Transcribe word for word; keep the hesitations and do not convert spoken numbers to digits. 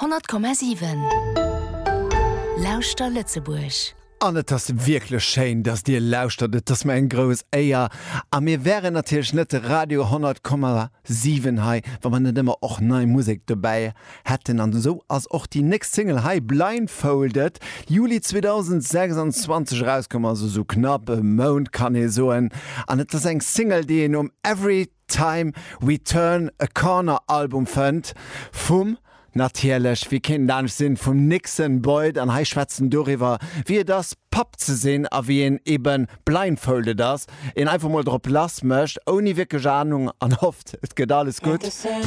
Honnert Komma siwen Lauschter Lëtzebuerg. An et ass wierklech schéin, dass dir lauschtert, et ass mir eng grouss Éier. A mir wären natierlech net de Radio honnert Komma siwen hei, wa mer net ëmmer och nei Musek dobäi hätten. An esou ass och déi nächst Single hei Blindfolded Juli zweedausendsechsanzwanzeg erauskomm, also sou knapp e Mount kann ee soen. An et ass eng Single, déi een um Every Time We Turn a Corner Album fënnt vum natierlech, wéi kéint et anescht sinn, vum Nixon Boyd. An hei schwätzt en doriwwer, wéi et ass, Papp ze sinn a wéi een eben blindfolded ass, een einfach mol drop lass mécht, ouni wierklech Anung an hofft, et geet alles gutt.